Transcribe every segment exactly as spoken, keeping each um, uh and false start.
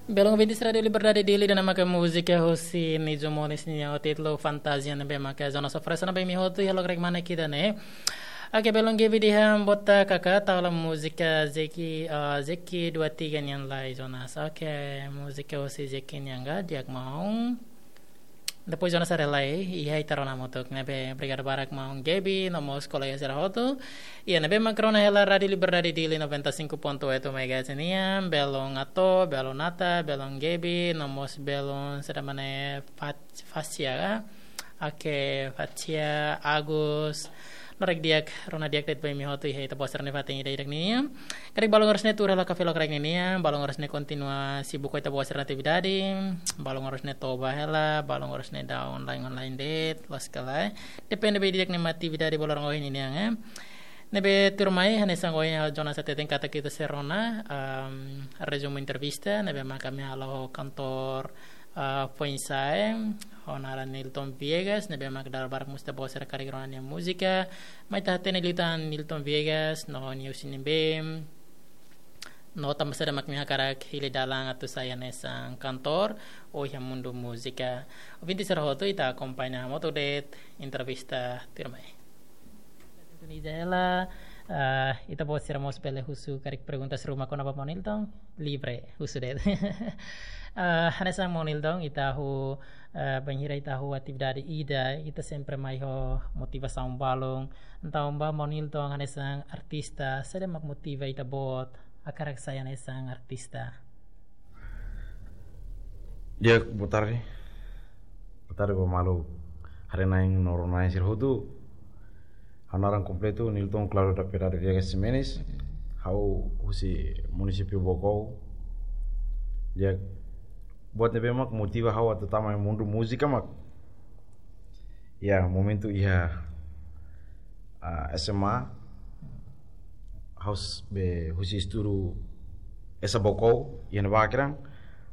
Belun ouvintes Rádiu Liberdade Dili, ida-ne'e maka múzika husi Nijo Monis nian ho títulu Fantasia ne'ebé maka Jonas oferese ona ba imi hotu iha lokraik manek ida-ne'e. Oke, belun Gaby dehan boot karik tau hela múzika Zeki, eh, Zeki dua tiga nian lai Jonas. Oke, múzika husi Zeki nian ka, di'ak maun. Depois Jonas haree lai, iha ita rona hamutuk ne'ebé, obrigadu barak maun Gaby, no mós kolega sira hotu. Iha ne'ebé mak rona hela Rádiu Liberdade Dili noventa e cinco ponto oito megahertz nian, belun Ato, belun Nata, belun Gaby, no mós belun sira mane Fat-, Fasia ka? Oke, Fasia, Agus, loraik di'ak, rona di'ak de'it ba imi hotu iha ita-boot sira-nia fatin ida-idak nian. Karik balun oras ne'e tuur hela kafé lokraik ne'e nian, balun oras ne'e kontinua sibuk ho ita-boot sira-nia atividade, balun oras ne'e toba hela, balun oras ne'e daudaun online online de'it, loos ka lae. Depende ba ida-idak nia atividade ba loron ohin nian, eh. Ne'ebé tuirmai, hanesan ohin Jonas hateten katak ita sei rona, um, rezumu entrevista, ne'ebé maka ami halo ho kantór, ah, foin-sa'e, ho naran Nilton Viegas, ne'ebé mak dala barak mós ita-boot sira karik rona nia múzika. Mai ita hatene liután Nilton Viegas, no nia husi ne'ebé, no tanba saida mak nia hakarak hili dalan atu sai hanesan kantór, ou iha mundu múzika. Ouvintes sira hotu, ita akompaña hamutuk de'it entrevista tuirmai. Sintoniza hela, ah, ita-boot sira mós bele husu karik perguntas ruma kona-ba maun Nilton, livre, husu de'it. Ah, hanesan maun Nilton, ita ho, ah, bainhira ita ho atividade ida, ita sempre mai ho motivasaun balun. Entaun ba maun Nilton, hanesan artista, saida mak motiva ita-boot hakarak sai hanesan artista? Di'ak, boa tarde. Boa tarde ba maluk haree-na'in no rona-na'in sira hotu. Ha'u naran kompletu Nilton Claudio da Piedade Viegas Ximenes. Ha'u husi munisípiu Baucau. Di'ak, buat ne'ebé mak motiva ha'u atu tama iha mundu múzika mak, iha momentu iha, ah, S M A, ha'u s-, be husi estudu S A Baucau, iha ne'ebá kedan,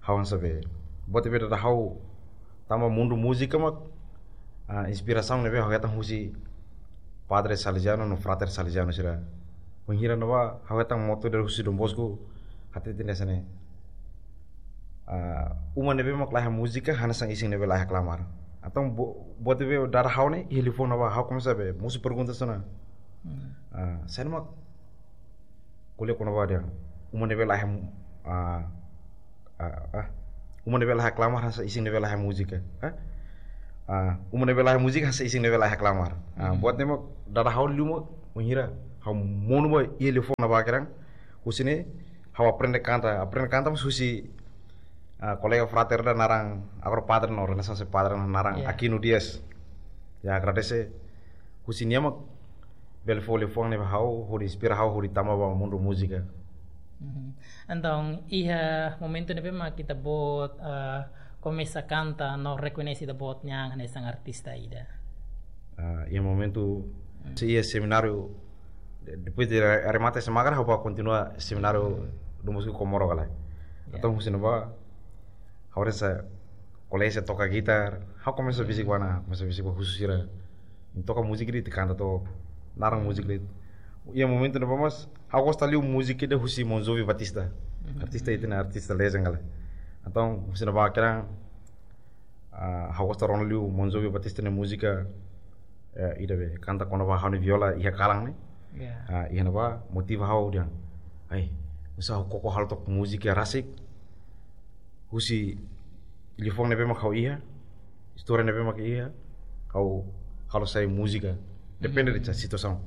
ha'u hanesan be, buat ne'ebé dada ha'u tama mundu múzika mak, ah, inspirasaun ne'ebé ha'u hetan husi Padre Salesiano no Frater Salesiano sira. Bainhira ne'ebá ha'u hetan moto dari husi Don Bosco, hateten hanesan ne'e. Ah, uma ne'ebé mak laiha múzika, hanesan isin ne'ebé laiha klamar. Entaun bo-, buat ne'ebé dada ha'u ne'e, iha liafuan ne'ebá, ha'u komesa be mosu perguntas ona. Hmm. Ah, saida mak ko'alia kona-ba dehan uma ne'ebé laiha mu-, ah, ah, ah, uma ne'ebé laiha klamar, hanesan isin ne'ebé laiha múzika. Ah? Ah, uma ne'ebé laiha múzika, hanesan isin ne'ebé laiha klamar. Ah, hmm, buat ne'e mak dada ha'u liu mak, bainhira ha'u monu ba iha liafuan ne'ebá kedan, husi ne'e ha'u aprende kanta, aprende kanta mós husi, ah, kolega frater ida naran, agora padre no, Renaissance padre no, naran, ya, Aquino Dias. Ya, agradese husi nia mak bele fó liafuan ne'e ba ha'u, hodi inspira ha'u, hodi tama ba mundu múzika. Mhm. Entaun, iha momentu ne'ebé mak ita-boot, ah, komesa kanta no rekoñese ita-boot nian hanesan artista ida? Ah, iha momentu, hmm, sei iha semináriu, de-, depois de re-, remata S M A karik, ha'u bá kontinua semináriu, hmm, Don Bosco Comoro ka lae. Ya. Entaun husi ne'ebá, ha'u hanesan kolega sira toka gitar, ha'u komesa, hmm, besik ba ona, komesa besik ba husu sira. Toka múzika de'it, kanta to'ok, naran múzika de'it. Iha momentu ne'ebá mós, ha'u gosta liu múzika ida husi Bon Jovi Batista. Mhm. Artista ida-ne'e, artista legend ka lae. Entaun, husi ne'ebá kedan, ah, ha'u gosta rona liu Bon Jovi Batista nia múzika, eh, ida be, kanta kona-ba ha'u-nia viola iha kalan ne'e. Ya. Ah, iha ne'ebá motiva ha'u dehan, ai, oinsá ha'u koko halo took múzika rasik husi liafuan ne'ebé mak ha'u iha, istória ne'ebé mak iha, ha'u halo sai múzika. Depende, hmm, de situasaun.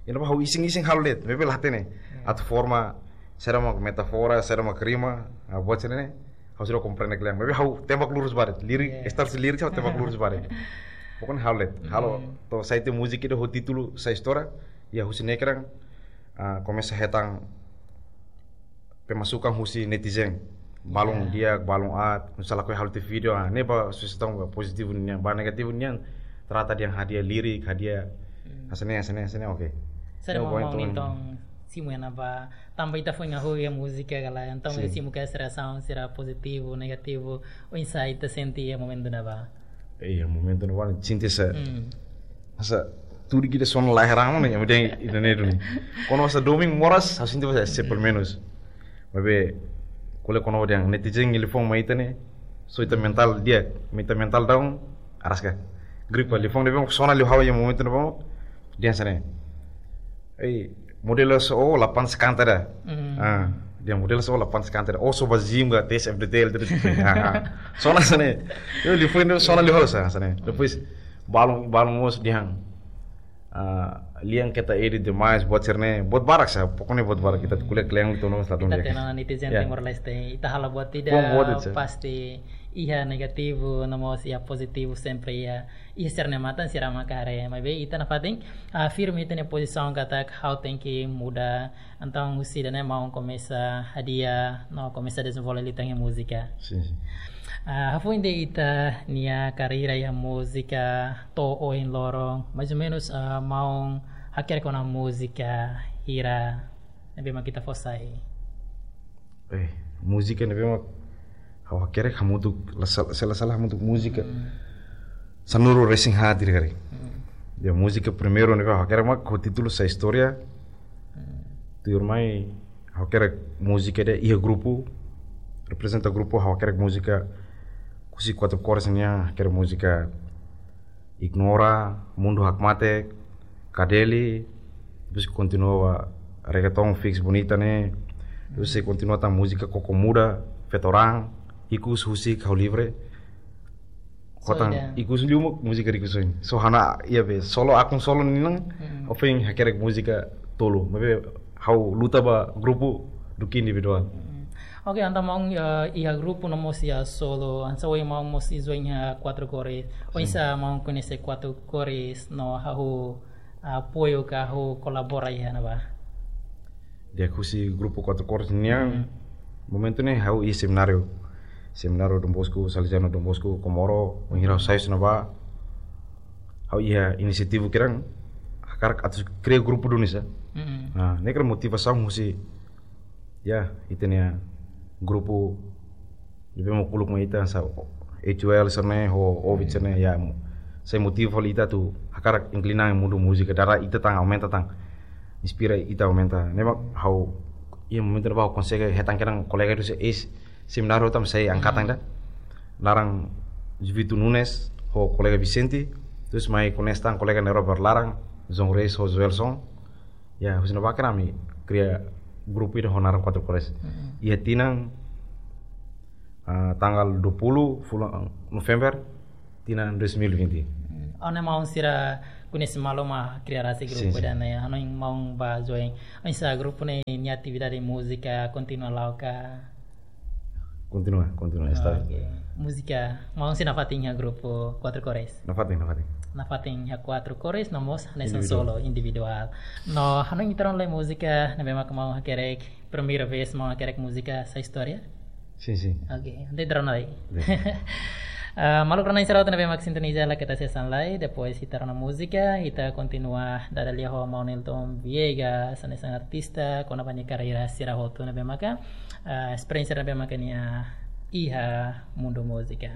Iha ne'ebá ha'u isin-isin halo de'it, maibé la hatene. Ya. Atu forma, saida mak metáfora, saida mak rima, ah, buat sira-ne'e, ha'u seidauk komprende kle'an. Maibé ha'u tembak lurus ba de'it, lirik, ya, start husi lirik ha'u tembak lurus ba de'it. Pokoknya halo de'it, halo, hmm, to'o sai tiha múzika ida ho títulu Sai Istória, ya husi ne'e kedan, ah, komesa hetan pemasukan husi netizen. Balun, ya, di'ak, balun aat, misalnya kau halo tiha vídeo, ah, ne'e ba sujestaun ba pozitivu nian, ba negativu nian, trata dehan hadi'a lirik, hadi'a, hmm, hanesan ne'e, hanesan ne'e, hanesan ne'e, oke. Saida, ya, mak, pokoknya maun, itu Nilton simu iha ne'ebá, tanba ita foin hahú iha múzika ka lae, entaun, sin, ita simu katak sira hanesan sira pozitivu, negativu, oinsá ita sente iha momentu ne'ebá? Iha momentu ne'ebá sente hanesan, hmm, hanesan tudu ida sona la heran, mano, yang penting ida-ne'e duni. Kuandu hanesan domin moras, ha'u sente hanesan, hmm, pelumenus. Maibé, Ko'alia kona-ba dehan netizen liafuan mai ita ne'e, so ita mental di'ak, ita mental down, araska. Gripa, liafuan ne'ebé mak sona liu ha'u iha momentu ne'ebá, dehan hanesan ne'e: "Ei, model só la pansa kanta ida." Ah, dehan model só la pansa kanta ida. "Ó só ba gym ka test F D T L terus." Ah, ah. Sona hanesan ne'e. Yo, liafuan ne'e sona liu ha'u sa, hanesan ne'e. Depois, balun, balun mós dehan, ah, lian keta edit demais, buat sira-ne'e, buat barak sa, pokoknya buat barak. Ita ko'alia kle'an liu tono sa. Ita hatene ona netizen Timor-Leste, ita halo buat ida, pasti iha negativu, no mós iha pozitivu, sempre iha, iha sira-nia matan sira mak haree. Maibé ita nafatin, ah, firme ita-nia pozisaun katak ha'u tenke muda, entaun husi ida-ne'e maun komesa hadi'a, no komesa dezenvolve liután iha múzika. Sin, sin. Ah, hafoin ita-nia karreira iha múzika to'o ohin loron, mais ou menus, ah, maun hakerek ona múzika hira ne'ebé mak ita fó sai? Eh, múzika ne'ebé mak ha'u hakerek hamutuk, la sal-, se la sala hamutuk múzika sanulu-resin-haat ida karik. Ya, múzika primeiru ne'ebé ha'u hakerek mak ho títulu Sai Istória. Tuirmai ha'u hakerek múzika ida iha grupu, reprezenta grupu, ha'u hakerek múzika husi Quatro Cores nian, hakerek múzika Ignora, Mundu Hakmatek, Kadeli, depois kontinua ba reggaeton Fix Bonita ne'e, depois sei kontinua tan múzika Koko Muda, Feto Raan, Ikus, Husik, Ha'u Livre. So, kotan ida. Ikus liu mak múzika Riku Soin. So ha'u-nia, iha be, solo, akun solo nian, ohin hakerek múzika tolu. Maibé ha'u luta ba grupu duké individuál. Oke, entaun maun, eh, iha grupu no mós iha solo, hanesan ohin maun mós join iha Quatro Cores. Oinsá maun koñese Quatro Cores no hahú apoiu ka hahú kolabora iha ne'ebá? Di'ak, husi grupu Quatro Cores nian, momentu ne'e ha'u iha semináriu. Semináriu Dom Bosco, Salesiano Dom Bosco, Comoro, wainhira ha'u sai husi ne'ebá, ha'u iha inisiativa kiran, hakarak atu kria grupu duni sa. Nah, ne'e kira motivasaun husi, ya, ita-nia grupu ne'ebé mak uluk mai ita sa, H U L sira-ne'e, ho Ovid sira-ne'e, ya, mo-, sai motiva fali ita atu hakarak inklina mundu múzika, dada ita tan aumenta tan, inspira ita aumenta. Ne'e mak ha'u, iha momentu ne'ebá ha'u konsege hetan kedan kolega husi eis-semináriu tan sai angkatan ida. Naran Juvito Nunes, ho kolega Vicente, terus mai koñese tan kolega ne'e Robert Laran, João Reis, ho Joelson. Ya, husi ne'ebá kedan ami kria grupu ida ho naran Quatro Cores. Iha tinan, ah, tanggal dua puluh fulan November, tinan dois mil e vinte. Ó-nia maun sira koñese malu mak kria rasik grupu ida ne'e, hanoin maun bá join. Oinsá grupu ne'e nia atividade múzika kontinua la'o ka? Kontinua, kontinua, estável. Oke. Múzika, maun sei nafatin iha grupu Quatro Cores? Nafatin, nafatin. Nafatin iha Quatro Cores, no mós hanesan solo, individuál. No, hanoin ita rona lai múzika ne'ebé mak maun hakerek, primeira vez maun hakerek múzika Sai Istória? Sin, sin. Oke, entaun ita rona lai. Ah, maluk rona sira hotu ne'ebé mak sintoniza Laketa Hanesan Lai, depois ita rona múzika, ita kontinua dada lia ho maun Nilton Viegas, hanesan artista, kona-ba nia karreira sira hotu ne'ebé maka, ah, esperiénsia ne'ebé maka nia iha mundu múzika.